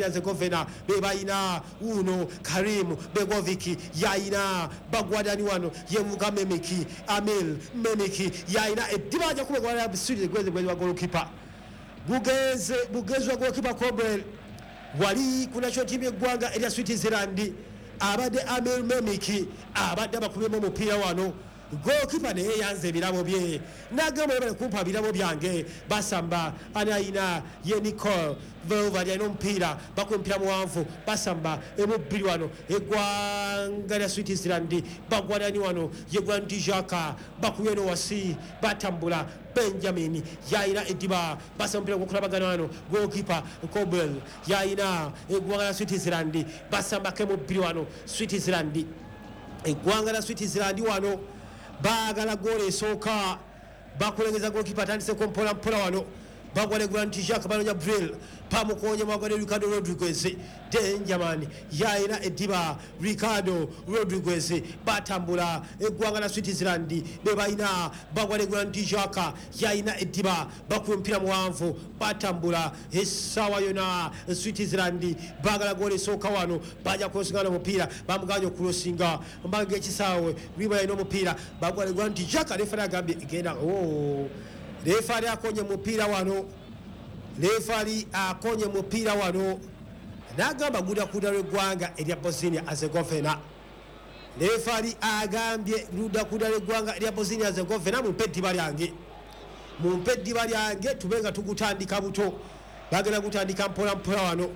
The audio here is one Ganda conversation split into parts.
Herzegovina bebalina uno Karim Begovic yayina bagwadani wano yemuga Memiki Amil Memiki yayina eddiba ajja kuba gwala Sweden gwezi wa goalkeeper bugenze bugezi wa goalkeeper Kobel wali ku national team y'eggwanga erya Switzerland abadde Amil Memiki abadde abakubyemu omupiira wano. Goalkeeper naye yanze ebirabo bye nagamba yebale kumpa birabo byange. Basamba ani ayina ye Nicole Velvad alina omupiira, bakuba omupiira muwanvu, basamba emubbiri wano eggwanga lya Switzerland bagwanani wano ye Granit Xhaka bakubye eno wasi batambula Benjamin yayina eddiba basamba omupiira gwokulabagana wano goalkeeper Kobel yayina eggwanga lya Switzerland basambako emubbiri wano Switzerland eggwanga lya Switzerland wano baagala goolo esooka bakulengeza goalkeeper atandiseko mpola mpola wano bagwa ne Granit Xhaka banonya Bril pamukonye mwagwa ne Ricardo Rodriguez Denjaman yayina eddiba Ricardo Rodriguez batambula eggwanga la Switzerland bebalina bagwa ne Granit Xhaka yayina eddiba bakuba omupiira muwanvu batambula essaawa yona Switzerland baagala goolo esooka wano bajja kulosinga omupiira bamuganye okulosinga mbaga ekisaawe Riba yalina omupiira bagwa ne Granit Xhaka refari agambye genda oh. Refari akonye mupiira wano, refari akonye mupiira wano n'agamba guda kuda lw'eggwanga erya Bosnia Herzegovina. Refari agambye luda kuda lw'eggwanga erya Bosnia Herzegovina, mumpe eddiba lyange, mumpe eddiba lyange tube nga tugutandika buto. Bagenda gutandika mpola mpola wano.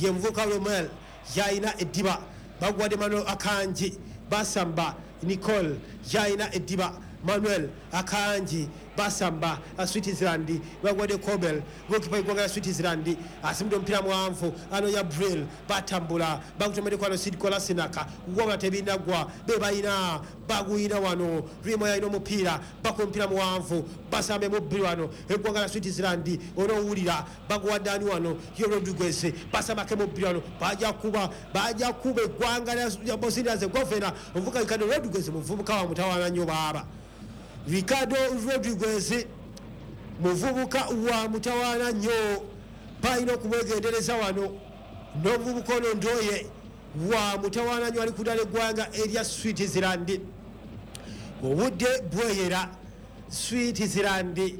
Ye muvuka Romel yalina eddiba bagwadde Manuel Akanji basamba Nicole yalina eddiba Manuel Akanji basamba Switzerland bagwadde Kobel goalkeeper eggwanga lya Switzerland asimudde omupiira muwanvu anonya Bril batambula bagutomeddeko wano Sidko Lasinaka wabula tebinaggwa bebalina baguyina wano Rimo yalina omupiira bakuba omupiira muwanvu basamba emubbiri wano eggwanga lya Switzerland onoowulira baguwadde ani wano ye Rodriguez basambako emubbiri wano bajja kuba eggwanga lya Bosnia Herzegovina omuvubuka Ricardo Rodriguez muvubuka wa mutawaana nnyo baaba. Ricardo Rodriguez muvubuka wa mutawaana nnyo balina okumwegendereza wano n'omuvubuka ono Ndoye wa mutawaana nnyo ali kudala eggwanga erya Switzerland. Obudde bweyera Switzerland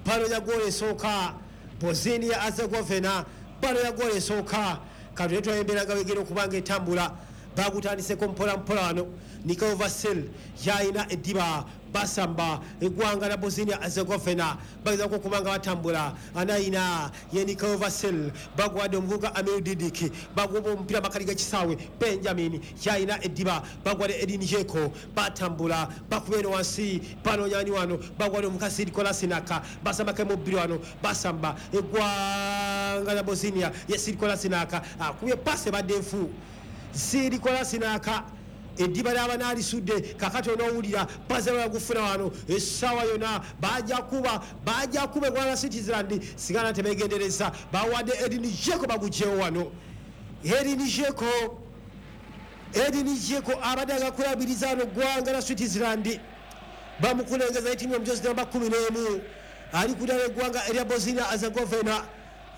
banonya goolo esooka, Bosnia Herzegovina banonya goolo esooka. Katule twayembera nga wegera okuba nga etambula bagutandiseko mpola mpola wano. Niko Vasil yalina eddiba basamba eggwanga la Bosnia Herzegovina bagezako okuba nga batambula anayina ye Niko Vasil bagwadde omuvubuka Amir Didik baguba omupiira makali g'ekisaawe Benjamin yalina eddiba bagwadde Edin Dzeko batambula bakuba eno wansi banoonyani wano bagwadde omuvubuka Sidko Lasinaka basambako emubbiri wano basamba eggwanga la Bosnia ye Sidko Lasinaka akubye paasi ebadde nfu. Sidko Lasinaka eddiba lyaba n'alisudde kakati onoowulira baze bagufuna wano essaawa yonna bajja kuba eggwanga la Switzerland sigala tebeegendereza bawadde Edin Dzeko bagugyewo wano. Edin Dzeko abadde agakulabiriza wano eggwanga la Switzerland bamukulengeza etimu omujozi namba 11 ali kudala eggwanga erya Bosnia Herzegovina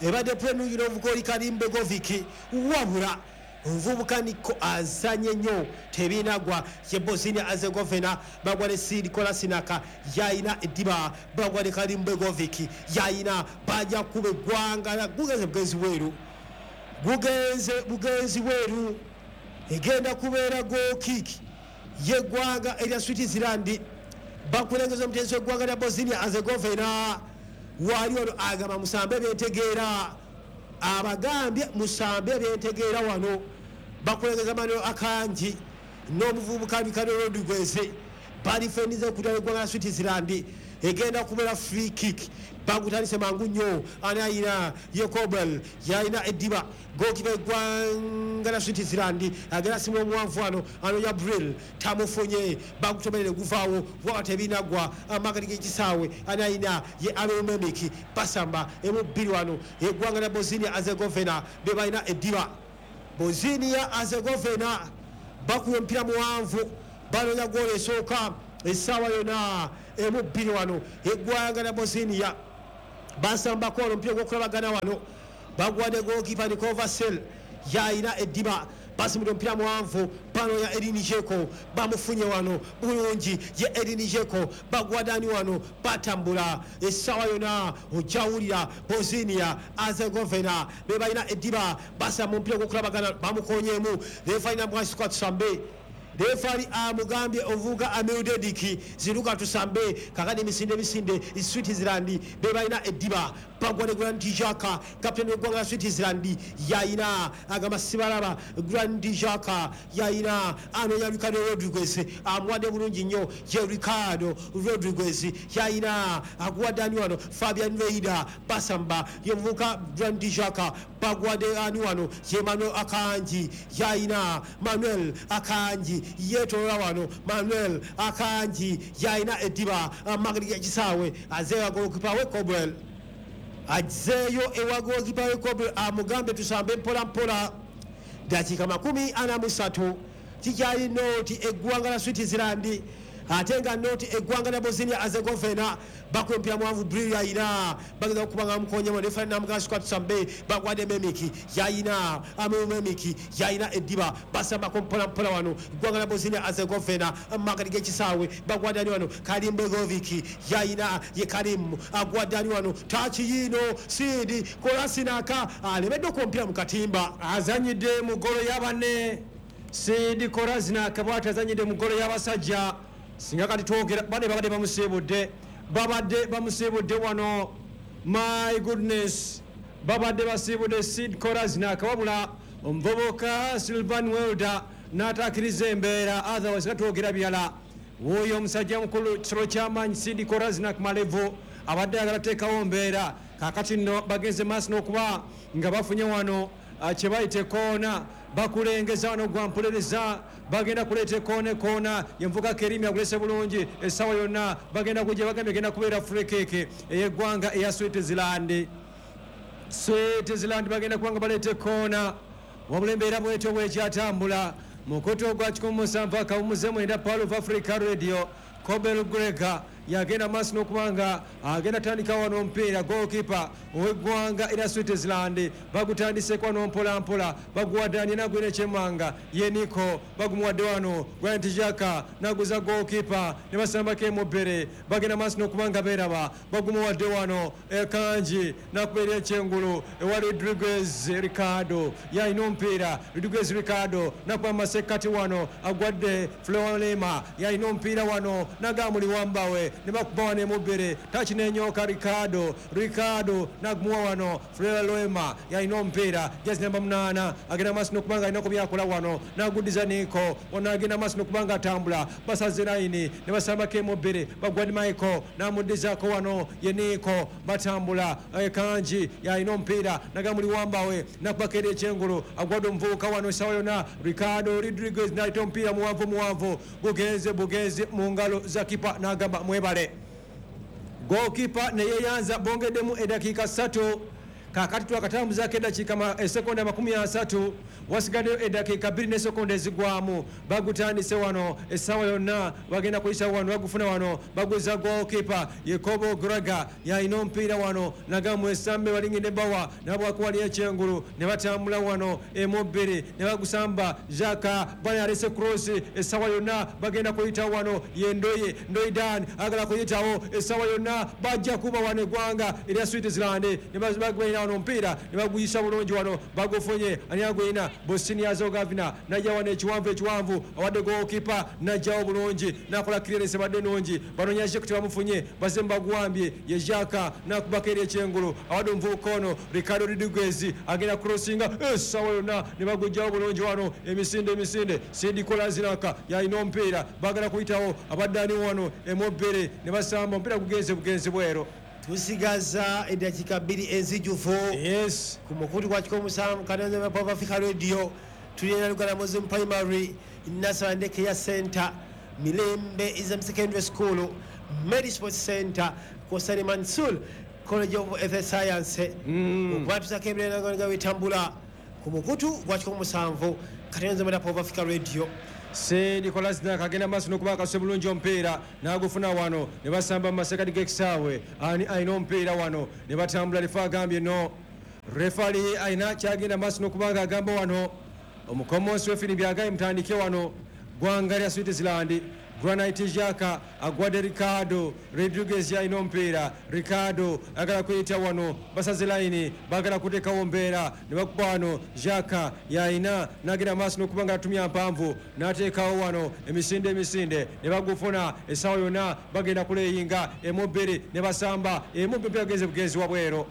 ebadde plenungi n'omuvubuka oli Karim Begovic wabula omuvubuka Niko azanye nnyo tebinagwa ye Bosnia Herzegovina bagwa ne Sidko Lasinaka yayina eddiba bagwa ne Karim Begovic yayina bajja kuba eggwanga gugenze bugenzi bweru gugenze bugenzi bweru egenda kubeera goal kick y'eggwanga erya Switzerland bakulengeza omutenzi w'eggwanga lya Bosnia Herzegovina wali wano agamba musambe byentegeera abagambye musambe byentegeera wano bakulengeza Manuel Akanji n'omuvubuka Ricardo Rodriguez balifendiza okutala eggwanga lya Switzerland egenda kubeera free kick bagutandise mangu nnyo anayina ye Kobel yalina eddiba goalkeeper eggwanga lya Switzerland agenda asimu omuwanvu wano anonya Bril tamufunye bagutomerere guvaawo waba tebinaggwa amakati g'ekisaawe anayina ye Amir Memik basamba emubbiri wano eggwanga lya Bosnia Herzegovina be balina eddiba. Bosnia Herzegovina bakuba omupiira muwanvu banonya goolo esooka essaawa yonna emubbiri wano eggwanga lya Bosnia basambako wano omupiira gw'okulabagana wano Bagwadde goalkeeper Niko Vassell, yayina eddiba. Basimudde omupiira muwanvu banoonya Edin Dzeko, bamufunye wano bulungi. Ye Edin Dzeko, bagwadani wano, batambula. Essaawa yonna ojjawulira Bosnia Herzegovina be balina eddiba. Basamba omupiira gw'okulabagana, bamukonyemu. Referee namwasika tusambe. Referee amugambye ovuga Amir Dediki, ziruka tusambe. Kakati emisinde emisinde, Switzerland be balina eddiba. Bagwa ne Granit Xhaka, kapteni w'eggwanga la Switzerland, yayina. Agamba sibalaba. Granit Xhaka yayina, anoonya Ricardo Rodriguez, amuwadde bulungi nnyo. Ye Ricardo Rodriguez, yayina, aguwadde ani wano? Fabian Reida. Basamba, ye muvubuka Granit Xhaka. Bagwadde ani wano? Ye Manuel Akanji, yayina. Manuel Akanji yetolola wano. Manuel Akanji yayina eddiba amageri gekisaawe, azeeyo goalkeeper we Kobel, azeeyo ewa goalkeeper we Kobel, amugambe tusambe mpola mpola. Dakiika 43, kikyali nought eggwanga la Switzerland, ate nga nought eggwanga lya Bosnia Herzegovina. Bakuba omupiira muwanvu, Bril yayina, bageza okuba nga mukonyemu. Referee namugamba tusambe. Bagwadde Memiki, yayina. Ameu Memiki yayina eddiba. Basambako mpola mpola wano eggwanga lya Bosnia Herzegovina makati g'ekisaawe. Bagwadde ani wano? Karim Begovic yayina. Ye Karim, agwadde ani wano? Takiyiino Sidi Kolasinaka alemedde okuba mu katimba. Azanyidde mu ggolo y'abanne. Sidi Korazinak bwati azanyidde mu ggolo y'abasajja. Singa kati twogera bane babadde bamusiibudde, babadde bamusiibudde wano. My goodness, babadde basiibudde Sid Korazinak, wabula omuvubuka Silvan Welder n'ataakiriza embeera, otherwise nga twogera birala. Wuuyo omusajja mukulu, kisolo ky'amaanyi, Sidi Korazinak Malevu abadde ayagala teekawo mbeera. Kakati nno bagenze maaso n'okuba nga bafunye wano kye bayita ekoona. Bakulengeza wano gwampulereza, bagenda kuleeta ekoona. Ekoona yenvuga Kerimi, agulese bulungi. Essaawa yonna bagenda kujja, bagambye genda kubeera free kick ey'eggwanga eya Switzerland. Switzerland bagenda kuba nga baleeta ekoona, wabula embeera bwetyo bwekyatambula. Mukutu ogwa 107.9 Pearl of Africa Radio. Cobel Grega yagenda maaso n'okuba nga agenda tandika wano omupiira. Goalkeeper ow'eggwanga era Switzerland bagutandiseko wano mpolampola. Baguwadde nagwina ekyemanga, ye Niko, bagumuwadde wano Granit Xhaka, naguza goalkeeper ne basambako emubere. Bagenda maaso n'okuba nga beeraba. Bagumuwadde wano Ekanji, nakubeera ekyengulu ewa Rodriguez. Ricardo yalina omupiira. Rodriguez Ricardo nakuba masekkati wano, agwadde Florema, yalina omupiira wano, nagamuli wambawe ne bakuba wano emubere takinenyoka. Ricardo, Ricardo nagumuwa wano Florema, yalina omupiira, jezi namba 8, agenda maaso n'okuba nga alinako byakola wano, naguddiza Niko wano, agenda maaso n'okuba nga atambula. Basaze layini ne basambako emubere. Bagwadi Michael namuddizaako wano, ye Niko. Batambula, Kanji yalina omupiira, nagamuli wambawe, nakubako eri ekyengulu, agwadde omuvubuka wano. Essaawa yonna Ricardo Rodriguez naleta omupiira muwanvu muwanvu, bugenze bugenze mu ngalo za kipa, n'agamba mwebale. Goalkeeper neyeyanza. Bongeddemu eddakiika 3. Kakati twakatambuzaako eddakiika esekonda 30, wasigaddeyo eddakiika 2 nesekonda ezigwamu. Bagutandise wano, essaawa yonna bagenda kuyisa wano. Bagufuna wano, baguza goalkeeper Yekobo Graga, yalina omupiira wano, nagamu esambe balingidde bawa nabwakuwali ekyengulu ne batambula wano emubiri ne bagusamba. Jaka bana alese cross, essaawa yonna bagenda kuyita wano. Ye Ndoye, Ndoidan agala kuyitawo. Essaawa yonna bajja kuba wano eggwanga erya Switzerland ne bagwina wano omupiira ne baguyisa bulungi wano. Bagufunye, ani agwina? Bosnia Herzegovina najja wano ekiwanvu ekiwanvu, awadde goalkeeper, najjawo bulungi, nakola clearance badde nungi. Banoonya Jacques, tebamufunye, bazze baguwambye. Ye Jaka nakubako eri ekyengulu, awadde omuvubuka ono Ricardo Rodriguez, agenda crossinga. Essaawa yonna ne bagujjawo bulungi wano. Emisinde emisinde, Sidi Kolazinaka yalina omupiira, bagala kuyitawo. Abadde ani wano emobere ne basamba omupiira, gugenze bugenzi bwero. Tusigaza eddakiika 2 enzijuvu. Yes. Ku mukutu gwa 107 kanonza Pop Africa Radio, tulina Lugala Muslim Primary, Nasara Daycare Center, Mirembe Islam Secondary School, Mary Sports Center, Kosani Mansur College of Health Science. Okubatuusako ebirala nga bitambula ku mukutu gwa 107.9 Pop Africa Radio. Sedi Kolasinac agenda maaso n'okuba akasuse bulungi omupiira, n'agufuna wano ne basamba mu masekati g'ekisaawe. Ani alina omupiira wano? Ne batambula, lifa agambye no. Refali alina kyagenda maaso n'okuba nga agamba wano omukomonsi w'effirimbi agaye mutandike wano. Ggwanga lya Switzerland, Granite Xhaka agwadde Ricardo Rodriguez, alina omupiira. Ricardo agala kuyita wano, basaze layini, bagala kuteekawo mbeera ne bakuba wano. Xhaka yalina n'agenda maaso n'okuba nga atumya mpanvu n'ateekawo wano emisinde emisinde ne bagufuna. Essaawa yonna bagenda kuleyinga emu bbiri ne basamba emu bbiri, agenze bugenzi wabweru.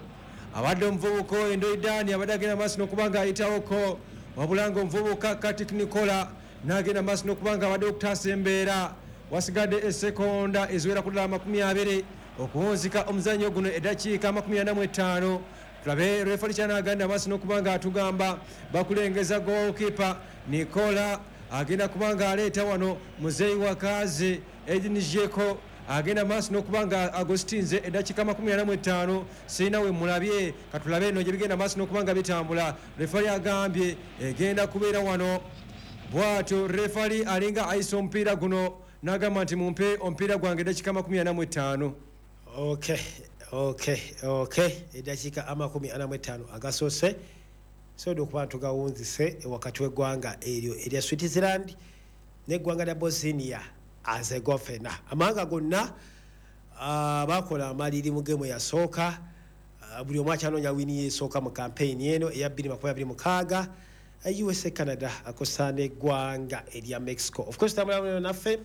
Abadde omuvubuka oyo Ndoidani abadde agenda maaso n'okuba nga ayitawoko, wabula nga omuvubuka Katik Nikola n'agenda maaso n'okuba nga abadde okutaasa embeera. Wasigadde esekonda eziwera ku ddala 20 okuwunzika omuzannyo guno, eddakiika 45. Tulabe refali kyanaganda maaso n'okuba nga atugamba. Bakulengeza goalkeeper Nikola agenda kuba nga aleeta wano muzeeyi wakazi Edin Dzeko agenda maaso n'okuba nga agostinze eddakiika 45. Sirina we mulabye, katulabe eno gye bigenda maaso n'okuba nga bitambula. Refali agambye egenda kubeera wano. Bwatyo refali alinga ayisa omupiira guno n'agamba nti mumpe omupiira gwange, eddakiika 45. Okay, eddakiika 45 agasoose sobola okuba ntugawunzise wakati w'eggwanga eryo erya Switzerland n'eggwanga lya Bosnia Herzegovina. Amawanga gonna bakola amaliri mu gemu yasooka. Buli omu akyanoonya wini yesooka mu kampeyini eno eya 2026. USA, Canada akosa n'eggwanga erya Mexico. Of course tambula naffe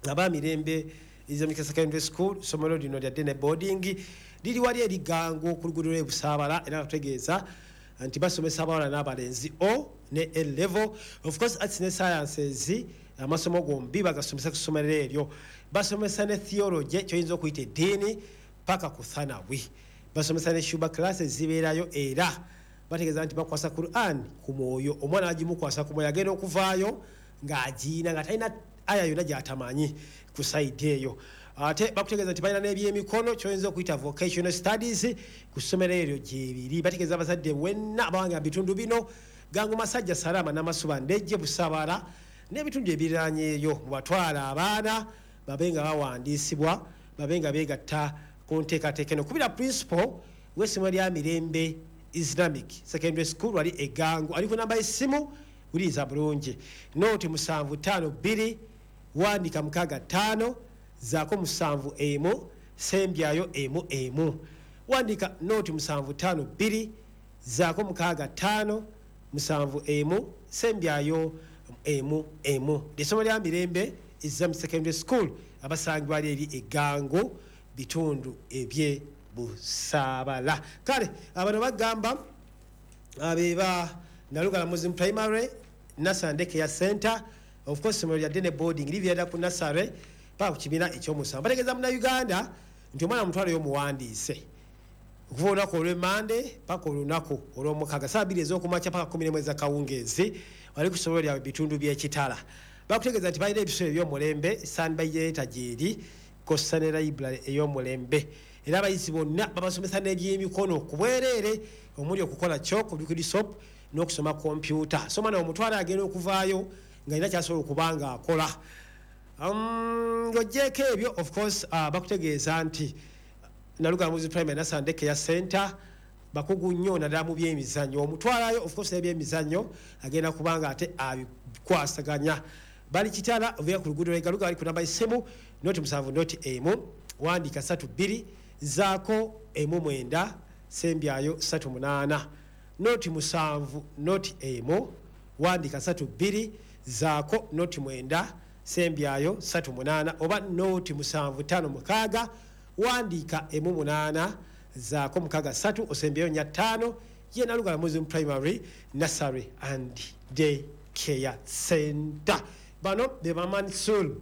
abamirembe Islamic Secondary School. Somero lino lya day boarding, liri wali erigango ku luguudo lw'ebusaabala, era batutegeeza nti basomesa abawala n'abalenzi O ne A level, of course arts ne sciences, amasomo gombi bagasomesa ku ssomero eryo. Basomesa ne theology, kyoyinza okuyita eddiini, paka ku thanawi. Basomesa ne shuba classes zibeerayo, era bategeeza nti bakwasa Quran ku mwoyo. Omwana agimukwasa ku mwoyo, agenda okuvaayo ng'agiina nga talina aya yonna gy'atamanyi ku side eyo. Ate bakutegeeza nti balina n'ebyemikono, kyoyinza okuyita vocational studies, ku ssomero eryo gyebiri. Bategeeza abazadde wenna abawanga mu bitundu bino, Gangu, Masajja, Salama, Namasuba, Ndejje, Busabala n'ebitundu ebiriranyeeyo, mubatwala abaana babe nga bawandiisibwa, babe nga beegatta ku nteekateeka eno. Kubira principal w'essomero lya Mirembe Islamic Secondary School wali egangu, ali ku namba y'essimu, wuliriza bulungi: noti 752, wandika 65, zaako 71, sembyayo 11. Wandika noti 752, zaako 65, 71, sembyayo 11. Lyessomero lya Mirembe Islamic Secondary School, abasangibwa ali eri egango, bitundu ebye Busaabala. Kale abano bagamba abeba Nalugala Muslim Primary Nasande Care Center. Of course somero lya day boarding, liviera ku nasare paka ku kibiina ekyomusanvu. Bategeeza Munnayuganda nti omwana mutwalo y'omuwandiise okuva olunaku olw'Emande paka olunaku olw'Omukaaga, saa 2 ez'okumakya paka 11 ez'akawungeezi, wali ku ssomero lyabwe, bitundu by'Ekitala. Bakutegeeza nti balina ebisolo eby'omulembe, standby generator gyeri, kossa ne library ey'omulembe, era abayizi bonna babasomesa n'ebyemikono ku bwereere, omuli okukola chalk, liquid soap n'okusoma kompyuta. So omwana omutwala agenda okuvaayo nga alina kyasobola okuba nga akola. Ng'ogyeko ebyo, of course bakutegeeza nti Nalugala Muslim Primary Nasande Care Center bakugu nnyo naddala mu byemizannyo. Omutwalayo, of course n'ebyemizannyo agenda kubanga ate abikwasaganya. Bali Kitala, oviira ku luguudo lwegaluga, bali ku namba y'essimu noti 7 noti 1, wandika 3 2, zaako 1 9, sembyayo 3 8. Noti 7 noti 1, wandika 3 2, zaako noti 9, sembyayo 3 8, oba noti 7 5 6, wandiika 1 8, zaako 6 3, osembyeyo 4 5. Ye Nalugala Muslim Primary Nursery and Day Care Center. Bano be Bamansur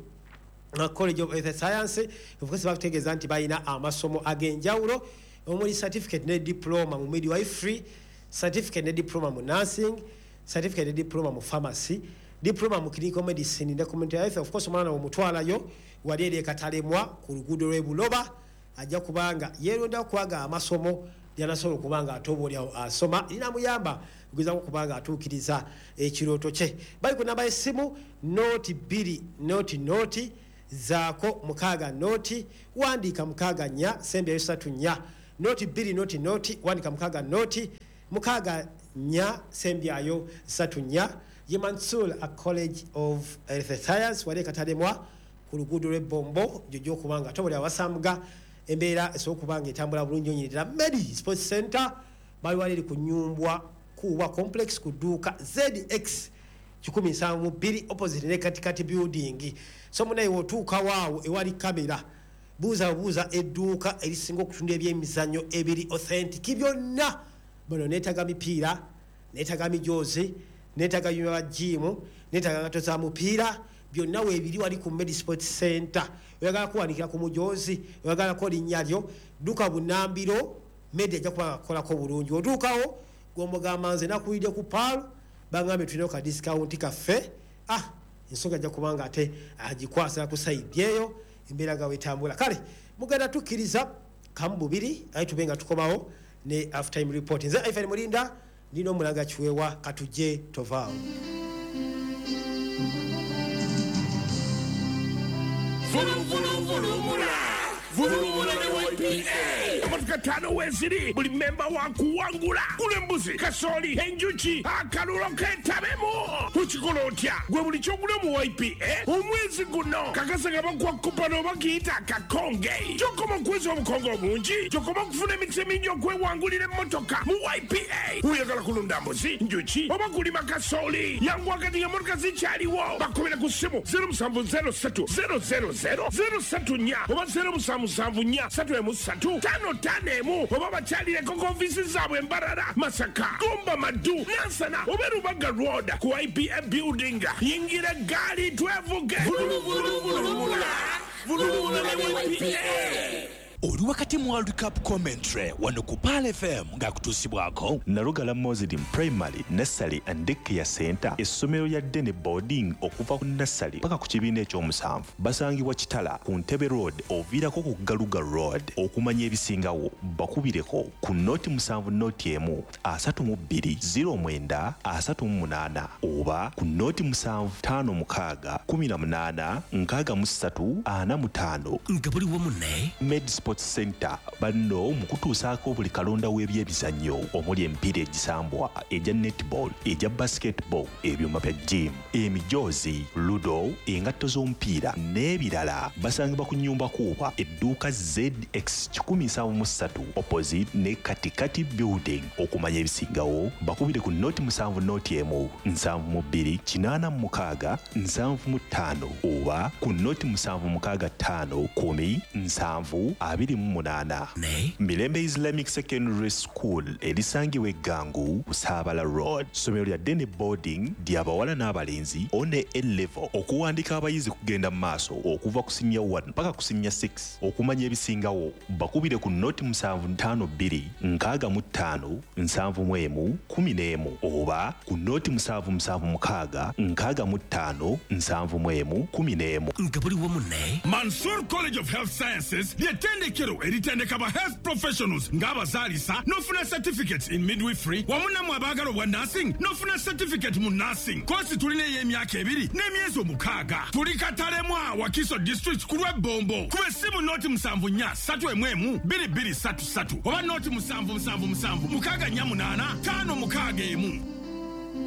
College of Health Science. Of course bakutegeeza nti balina amasomo ag'enjawulo omuli certificate ne diploma mu midwifery, certificate ne diploma mu nursing, certificate ne diploma mu pharmacy, diploma mu clinical medicine ne community health. Of course omwana omutwalayo wali eri Ekatalemwa ku luguudo lw'e Buloba, ajja kubanga yeeronda kubanga amasomo lyanasobola okuba nga ate oba oliawo asoma linamuyamba okugezako okuba nga atuukiriza ekirooto kye. Bali ku namba y'essimu noti 2 noti noti, zaako 6 noti, wandiika 6 4, sembyayo 3 4. Noti 2 noti noti wandika 6 noti 6 4 sembyayo 3 4. Ye Mansur a College of Health Science wali katalemwa ku luguudo lw'ebbombo jojo okubanga tobuli awasambuga embeera esobola okuba nga etambula bulungi onyirira. Medi Sports Center bali wali eri ku Nyumbwa Kuwa Complex ku dduuka ZX 172 opposite ne Katikati building. So munaye wotuuka waawo ewali kamera, buuza buuza edduuka erisinga okutunda ebyemizannyo ebiri authentic byonna. Bano neetaga mipiira, neetaga mijoozi, neetaga byuma bya jiimu, neetaga ngatto za mupiira, byonna weebiri wali ku Medi Sports Center. Oyagala kuwanikira ku mujoozi, oyagalako linnya lyo, dduka bunambiro, Medi ajja kuba nga akukolako bulungi. Otuukawo gw'omugamba nze nakuwulidde ku Pearl, bangambye tulina ka discount kaffe. Ensonga ajja kuba nga ate agikwasa ku side eyo, embeera nga bwetambula. Kale mugenda tukkiriza kamu bubiri aye tube nga tukomawo ne half time report. Nze Ivan Mulinda ndina omulanga Kiweewa, katujje tovaawo. Vuluvuluvulumula vulumula ne YPA. Emotoka ttaano weeziri, buli memba wa kuwangula. Gula embuzi, kasooli, enjuki, akalulo keetabemu. Okikola otya? Gwe buli ky'ogula mu YPA omwezi guno kakasa nga bakuwa kupano oba kiyita akakonge. Gy'okoma okuweza obukonge obungi, gy'okoma okufuna emikisa emingi okwewangulira emmotoka mu YPA. Oyagala kulunda mbuzi, njuki oba kulima kasooli, yanguwa kati ng'emmotoka zikyaliwo. Bakubira ku ssimu 0703 000 034 oba 0774 313 551 oba bakyalireko ku ofiisi zaabwe Mbarara, Masaka, Gomba, Maddu, Nansana oba Rubaga Road ku YPA building. Yingira eggaali twevuge. Vuluvuluvulumula vulumula ne YPA. Oli wakati mu World Cup commentary wano ku Pearl FM ng'akutuusibwako Nalugala Muslim Primary Nursery and Daycare Center, essomero lya Dene Boarding okuva ku nursery paka ku kibiina ekyomusanvu. Basangibwa Kitala ku Ntebe Road oviirako ku Galuga Road. Okumanya ebisingawo bakubireko ku noti 7 noti 1 32 09 38 oba ku noti 7 5 6 18 63 45. Nga buli wamu ne Med Sports Center banno mu kutuusaako buli kalonda w'ebyemizannyo omuli emipiira egisambwa, egya netball, egya basketball, ebyuma bya gym, emijoozi, ludo, engatto z'omupiira n'ebirala. Basangibwa ku Nyumba Kuuba edduuka ZX 173 opposite ne Katikati building. Okumanya ebisingawo bakubire ku noti 7 noti 1 72 86 75 oba ku noti 7 6 5 10 7 28. Ne Mirembe Islamic Secondary School erisangibwa Eggangu ku Saabala Road. Ssomero lya Dene Boarding ly'abawala n'abalenzi one A level. Okuwandika abayizi kugenda mu maaso okuva ku senior 1 paka ku senior 6. Okumanya ebisingawo bakubire ku noti 7 5 2 65 71 11 oba ku noti 7 7 6 65 71 11. Nga buli wamu ne Mansur College of Health Sciences ly'ettendekero eritendeka ba health professionals ng'abazaalisa n'ofuna certificates in midwifery wamu nammwe abaagala obwa nursing n'ofuna certificate mu nursing. Koosi tulina ey'emyaka 2 n'emyezi 6. Tuli Katalemwa, Wakiso district ku lw'Ebbombo. Kuba essimu noti 7 4 3 1 2 2 3 3 oba noti 7 7 7 6 4 8 5 6 1.